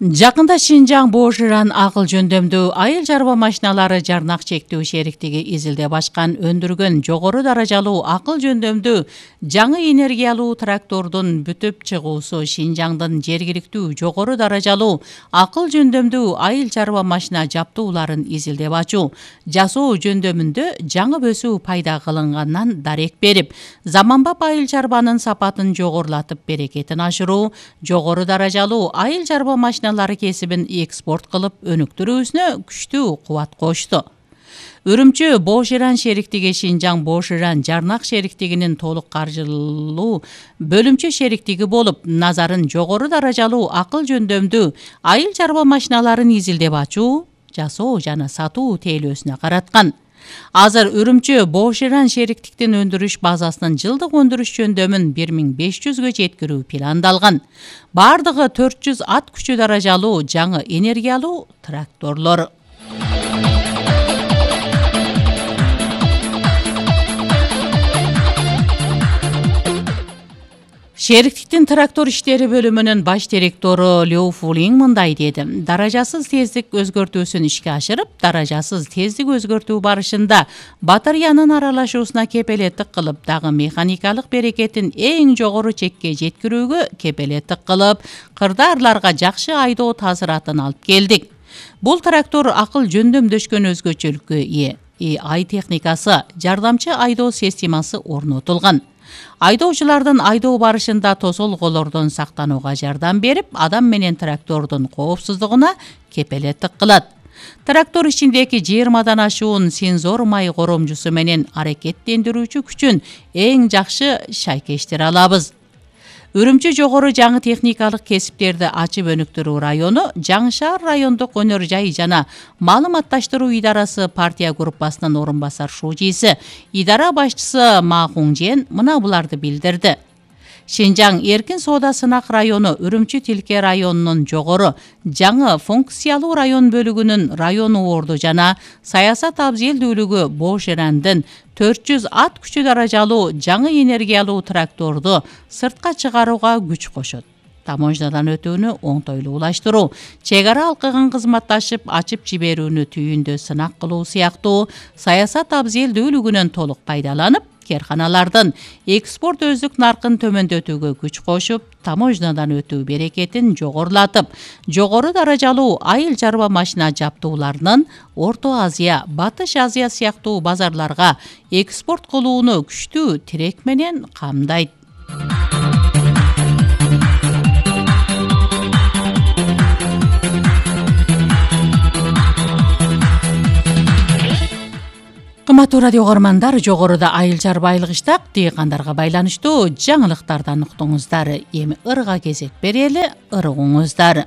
Жакында Шинжаң Боширан акыл жөндөмдүү айыл чарба машиналары жарнак чектөө шериктиги изилдеп ачкан өндүргөн жогору даражалуу акыл жөндөмдүү жаңы энергиялуу трактордун бүтүп чыгуусу Шинжаңдын жергиликтүү жогору даражалуу акыл жөндөмдүү айыл чарба машина жаптууларын изилдеп ачуу, жасоо жөндөмүндө жаңы өсүү пайда кылынганынан дарек берип, заманбап айыл чарбанын сапатын жогорулатып берекетин ашыруу, жогору даражалуу айыл чарба машиналары кесибин экспорт кылып өнүктүрүүсүнө күчтүү кубат кошту. Үрүмчү Боширан шериктиги Шинжаң Боширан жарнак шериктигинин толук каржылуу бөлүмчө шериктиги болуп, назарын жогору даражалуу акыл жөндөмдүү айыл чарба машиналарын изилдеп ачуу, жасоо жана сатуу тейлөөсүнө караткан. Азыр Үрүмчү Боширан шериктиктин өндүрүш базасынын жылдык өндүрүш жөндөмүн 1500гө жеткирүү пландалган. Бардыгы 400 ат күчү даражалуу жаңы энергиялуу тракторлор. Шериктиктин трактор иштери бөлүмүнүн баш директору Лю Фулин мындай деди: даражасыз тездик өзгөртүүсүн ишке ашырып, даражасыз тездик өзгөртүү барышында батареянын аралашуусуна кепелеттик кылып, дагы механикалык берекетин эң жогору чекке жеткирүүгө кепелеттик кылып, кырдаарларга жакшы айдоо таасиратын алып келдик. Бул трактор акыл жөндөмдөшкөн өзгөчөлүккө ээ. AI техникасы, жардамчы айдоо системасы орнотулган. Айдоочулардын айдоо барышында тосолголордон сактанууга жардам берип, адам менен трактордун коопсуздугуна кепелеттик кылат. Трактор ичиндеги 20дан ашуун сензор май коромжусу менен аракеттендирүүчү күчүн эң жакшы шайкештире алабыз. Үрүмчү жогору жаңы техникалык кесиптерди ачып өнүктүрүү району Жаңы шаар райондук өнөр жай жана маалыматташтыруу идарасы партия группасынын орун басар шужиси, идара башчысы Ма Хунжен мына буларды билдирди. Шинжаң эркин соода сынак району Үрүмчү Тилке районунун жогору жаңы функциялуу район бөлүгүнүн район орду жана саясат абзелдүүлүгү Боширандын 400 ат күчү даражалуу жаңы энергиялуу тракторду сыртка чыгарууга күч кошот. Таможнядан өтүүнү оңтойлуулаштыруу, чек ара алкыгын кызматташып ачып жиберүүнү түйүндө сынак кылуу сыяктуу саясат абзелдүүлүгүнөн толук пайдаланып, керканалардын экспорт өздүк наркын төмөндөтүүгө күч кошуп, таможнядан өтүү берекетин жогорулатып, жогору даражалуу айыл чарба машина жаптууларынын Орто Азия, Батыш Азия сыяктуу базарларга экспорт кылууну күчтүү тирек менен камдайт. Кымбаттуу радио угармандар, жогоруда айыл чарба айылгычтак дыйкандарга байланыштуу жаңылыктардан уктуңуздар. Эми ырга кезек берели, ырыгыңыздар.